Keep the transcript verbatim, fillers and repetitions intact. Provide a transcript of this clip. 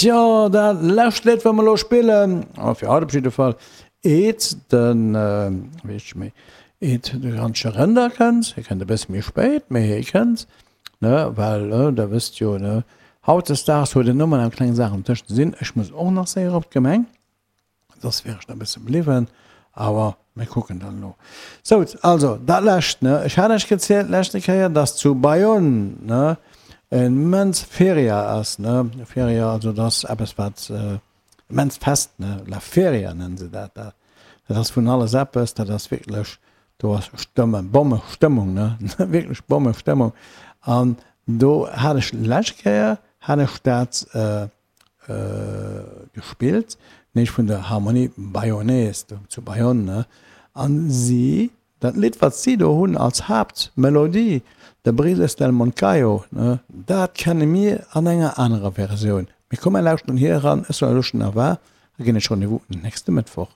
Tjo, dat lescht Lidd, wat mer elo spillen, fir haut op jidde Fall, eet den, wéi heescht méi, eet de Rancher Rënder kënnt, hie kënnt e bësse méi spéit, mee hie kënnt, ne, well, der wësst jo, ne, hautdesdaags huet en nëmmen eng kleng Saach um Dësch ze sinn. Ech muss och nach séier op d'Gemeng. Soss wär ech nach e bësse bliwwen, awer mir kucken dann elo. Sou, also dat lescht, ne, ech hat Iech gezielt d'leschte Kéier, dass zu Bayonne, ne, en immens Feria ass, ne, Feria, also dat ass eppes wat, immens Fest, ne, la Feria nennen se dat da, dat ass vun alles eppes, dat ass wierklech, do ass Stëmme, Bommestëmmung, ne, wierklech Bommestëmmung. An do hat ech d'lescht Kéier, hat ech dat, gespillt, nämlech vun der Harmonie Bayonnaise do zu Bayonne, an si, dat Lidd wat si do hunn als Haaptmelodie, de Brises del Moncayo, dat kenne mir an enger anerer Versioun. Mee komm mir lauschteren hir eran, ech soen elo schonn au revoir a ginn iech Rendez-vous nächste Mëttwoch.